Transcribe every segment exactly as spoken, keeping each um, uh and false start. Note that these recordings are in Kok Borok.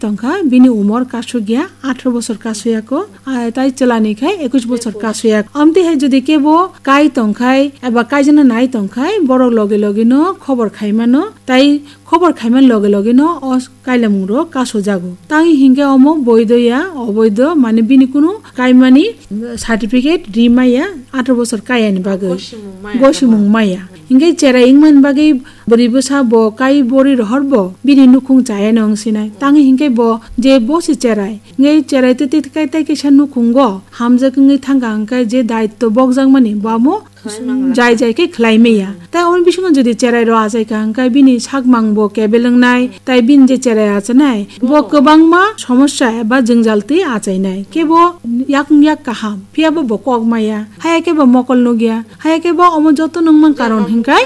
tongkha, bini umor kasuk ya, atharo bosor kasuk ya ko, ah, tai chwla ni khai ekush bosor kasuk ya. Amtwi hai jodi kebo kai tongkhai eba kaijana nai tongkhai, borok loge loge no khobor khai mano, tai khobor khai man loge loge no o kailamung rok kasuk jago. Tang hinkhe omo boido ya, oboido, mane bini kunu kaimani certificate ri maya, atharo bosor kaya ni bagwi. Gosimung maya. Gosimung maya. Hinkhe cherai wngmani bagwi bwrwi bwsa bo kai bori rohor bo bini nukhung chaya no wng sinai. Tang hinkhe bo je bo se cherai. Hinkhe cherai tei tei kai tei kaisa nukhungo hamjak wngwi thangkha hinkhe je daitto bokjakmani bo amo jai jai khe khlai maya. Tai omo bisingo jodi cherai rok achai kha hinkhe bini sakmang bo kebel wngnai, tai bini je cherai achanai bo kwbangma somosya eba jwngjal twi achainai. Kebo yakung yak kaham, phiyabo bo kok maya. Haya khe bo mokol nukya. Haya khe bo omo joto nungmang karon hinkhe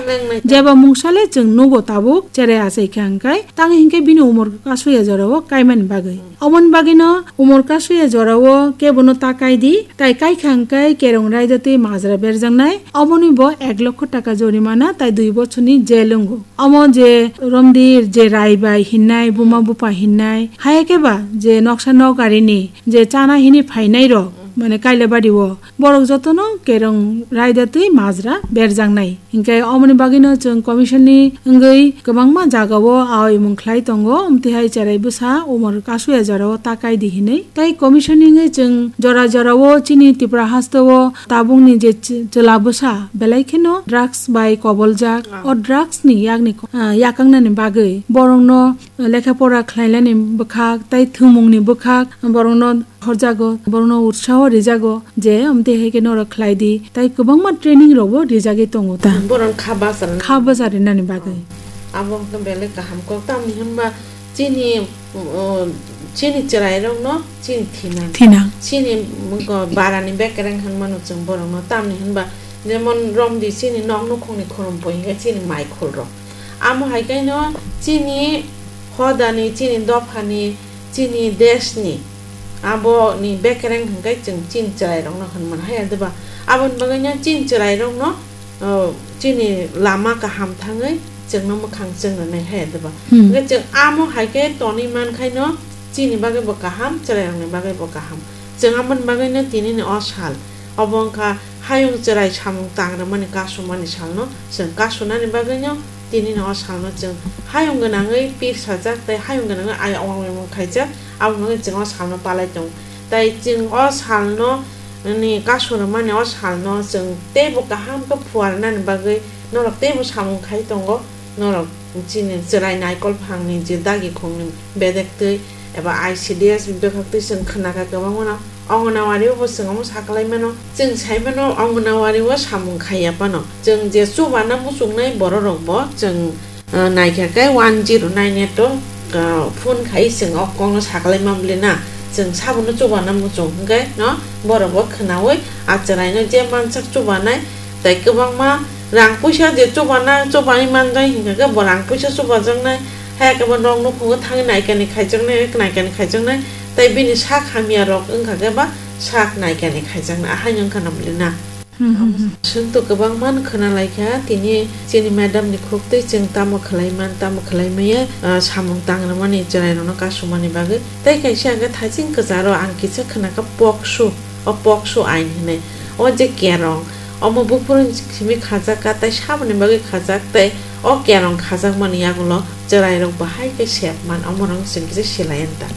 jeba mungsale chwng nugo tabuk cherai achai kha hinkhe, tang hinkhe bini umor kasuk ya jorao kaimani bagwi. Omoni bagwino umor kasuk ya jorao kebono ta kai di, tai kai kha hinkhe kerong raida twi majra berjaknai, omoni bo ek lokho taka jorimana tai dui bochorni jail wngo. Omo je romdir je rai bai hinnai, buma bupa hinnai, haya khe ba je noksa nok arini je chana hini phainai rok, mane Kailabari o, borok jotono kerong raida twi majra berjaknai. Hinkhe omoni bagwino chwng commission ni wngwi kwbangma jagao aoimung khlai tongo, amtwi hai cherai bwsa umor kasuk ya jorao ta kai di hinwi. Tai commission ni wngwi chwng jora jorao chini Tripura hasteo tabukni je ch-, chwla bwsa belai kheno drugs bai koboljak. Ah. O drugs ni yakni ko-, ah, yakangnani bagwi borokno lekha pora khlainani bwkhak tai thwngmungni bwkhak borokno horjago, borokno utsaho rijago je amtwi hai khe norok khlai di, tai kwbangma training rokbo rijagwi tongo ta. Borok kha bachar. Kha bachar rinani bagwi. Abo wngkha belai kaham kok, tamni hwnba chini, uh, chini chwrairokno chini thinang. Thinang. Chini, uh, barani bekereng hwnmano chwng borokno, tamni hwnba jemon romdi chini nok nukhungni khurumpo hinkhe chini maikhulrok. Amo hai khe no chini hodani, chini dophani, chini deshni, aboni bekereng hwnkhe chwng chini chwrairokno hwnmano hai ya, diba? Aboni bagwino chini chwrairokno, o, chini lama kaham thangwi chwngno mwkhang chwng rwnai hai ya, diba? Hmm. Hwnkhe chwng amo hai khe tonwi mankhaino chini bagwibo kaham, chwrairokni bagwibo kaham. Chwng aboni bagwino tinini o sal, obo wngkha hayung chwrai samung tang rwmani kasumani salno chwng kasunani bagwino tinini o salno chwng hayung gwnangwi pir sajak tei hayung gwnangwi ai ongmung khaijak, aboni bagwi chwng o salno palai tongo. Tai chwng o salno ni kasu rwmani o salno chwng teibo kaham khe phuarnani bagwi norok teibo samung khai tongo. Norok chini chwrai naikol phangni je dagi khongni bedek twi eba I C D S ni bwkhak twi chwng khna kha kwbangma no. Anganwadi o bo chwng omo sa kwlai mano. Chwng sai mano Anganwadi o samung khai ya phano. Chwng je chubana muchungnai borok rok bo chwng, ah, nai kha khe one zero nine eight o, ah, phone khai chwng o kok no sa kwlai ma bwle na. Chwng sabo no chubana muchung hwnkhe no borok bo khnaui a chwrai no je mansak chubanai. Tai kwbangma rang puisa je chubana, chubani manjak hinkha khe bo rang puisa chubajaknai, hai khe bo nok nukhungo thangwi naikani khaijaknai, naikani khaijaknai, tai bini sak hamya rok wngkha khe ba sak naikani khaijaknai, ahaino wngkha na bwle na? Hmm, hmm, hmm. Chwng to kwbangma no khna lai kha, tini chini madam ni khuk twi chwng tamo khwlai man, tamo khwlai maya, ah, samung tang rwmani chwrai rokno kasumani bagwi. Tai kaisa hwnkhe thaiching kwcharo ang kisa khna kha pokso, o pokso ain hinwi. O je kerong, omo buphuru simi khajak kha, tai saboni bagwi khajak, tai o kerong khajakmani yagulo chwrairok bahai khe sep man, omorok chwng kisa silai anta.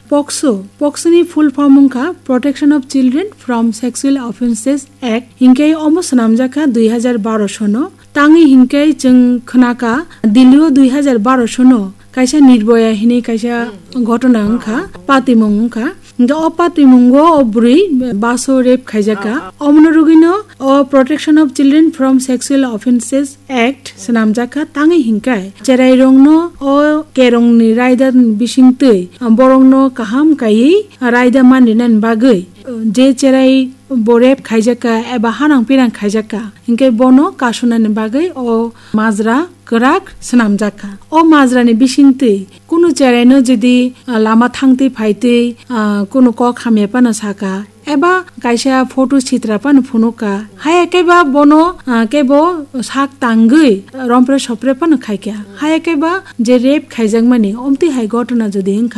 pokso, pokso ni full form wngkha Protection of Children from Sexual Offences Act, hinkhe omo swnamjak kha dui hazar baro sono. Tangwi hinkhe chwng khna kha Delhi o dui hazar baro sono kaisa Nirbhaya hinwi kaisa ghotona wngkha, patimung wngkha. Hinkhe o patimungo o bwrwi baso rape khaijak kha. Omono rwgwino o Protection of Children from Sexual Offences Act swnamjak kha, tangwi hinkhe chwrairokno o kerongni raida bisingtwi borokno kaham kaiwi raida man rinani bagwi, je chwrai bo rape khaijak kha eba hanang pirang khaijak kha, hinkhe bono kasunani bagwi o majra kwrak swnamjak kha. O majrani bisingtwi kunu chwraino jodi, ah, lama thangtwi phaitwi, ah, kunu kok hamya phano sakha, eba kaisa photo sitra phano phunukha, haya khe ba bono, ah, kebo sak tangwi rompre sopre phano khaikha, haya khe ba je rape khaijakmani omtwi hai ghotona jodi wngkha,